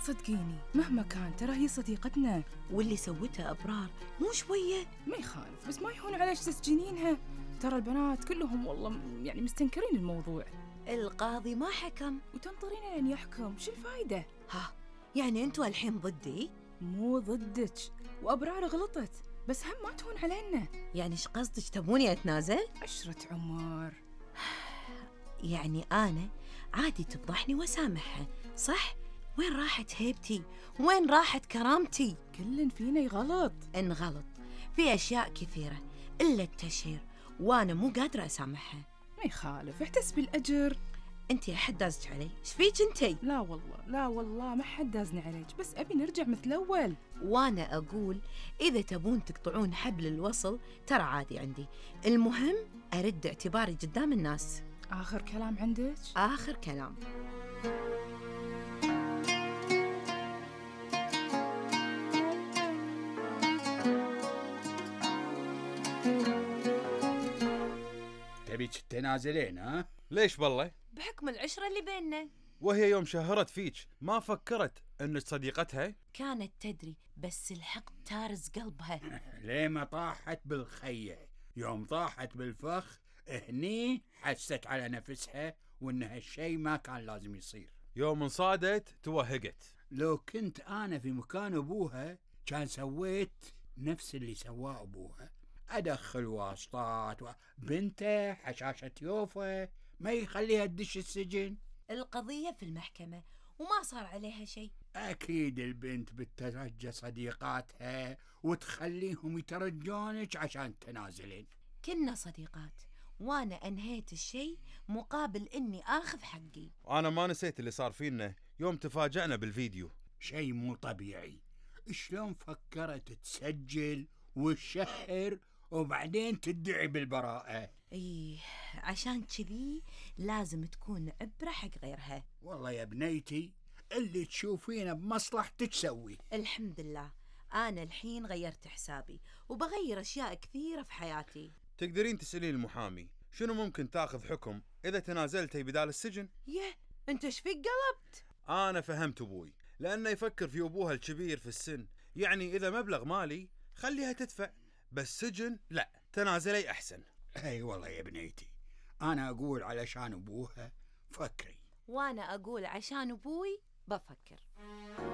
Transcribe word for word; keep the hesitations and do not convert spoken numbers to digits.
صدقيني مهما كان ترى هي صديقتنا، واللي سوته أبرار مو شوية. ما يخالف، بس ما يهون عليش تسجنينها. ترى البنات كلهم والله يعني مستنكرين الموضوع. القاضي ما حكم وتنطرين لين يحكم، شو الفايدة؟ ها يعني أنتوا الحين ضدي؟ مو ضدك، وأبرار غلطت، بس هم ما تهون علينا. يعني إيش قصدك، تبوني أتنازل؟ عشرة عمر. يعني أنا عادي تفضحني وسامحها صح؟ وين راحت هيبتي؟ وين راحت كرامتي؟ كل فينا يغلط. إن غلط في أشياء كثيرة إلا التشهير، وأنا مو قادرة أسامحها. ما يخالف، احتسبي الأجر. أنتي أحد دازك علي؟ إيش فيك أنتي؟ لا والله لا والله ما حد دازني عليك، بس أبي نرجع مثل أول. وأنا أقول إذا تبون تقطعون حبل الوصل ترى عادي عندي، المهم أرد اعتباري قدام الناس. آخر كلام عندك؟ آخر كلام. تبيك تنازلين ها؟ ليش بالله؟ بحكم العشرة اللي بيننا. وهي يوم شهرت فيك ما فكرت انك صديقتها؟ كانت تدري بس الحق تارز قلبها. ليه ما طاحت بالخية؟ يوم طاحت بالفخ هني حست على نفسها وان هالشي ما كان لازم يصير. يوم انصادت توهقت. لو كنت انا في مكان ابوها كان سويت نفس اللي سواه ابوها، ادخل واسطات وبنته حشاشة يوفا ما يخليها تدش السجن. القضية في المحكمة وما صار عليها شيء. اكيد البنت بتترجى صديقاتها وتخليهم يترجونك عشان تنازلين. كنا صديقات وانا انهيت الشيء مقابل اني اخذ حقي. انا ما نسيت اللي صار فينا يوم تفاجأنا بالفيديو. شيء مو طبيعي، شلون فكرت تسجل وتشهر وبعدين تدعي بالبراءة؟ ايه عشان كذي لازم تكون عبرة حق غيرها. والله يا بنيتي اللي تشوفينه بمصلحتك سوي. الحمد لله انا الحين غيرت حسابي وبغير اشياء كثيرة في حياتي. تقدرين تسألين المحامي شنو ممكن تاخذ حكم اذا تنازلتي بدال السجن؟ يه انت ايش فيك قلبت؟ انا فهمت ابوي لانه يفكر في ابوها الكبير في السن، يعني اذا مبلغ مالي خليها تدفع، بس سجن لا، تنازلي احسن. اي والله يا بنيتي انا اقول علشان ابوها فكري، وانا اقول عشان ابوي بفكر.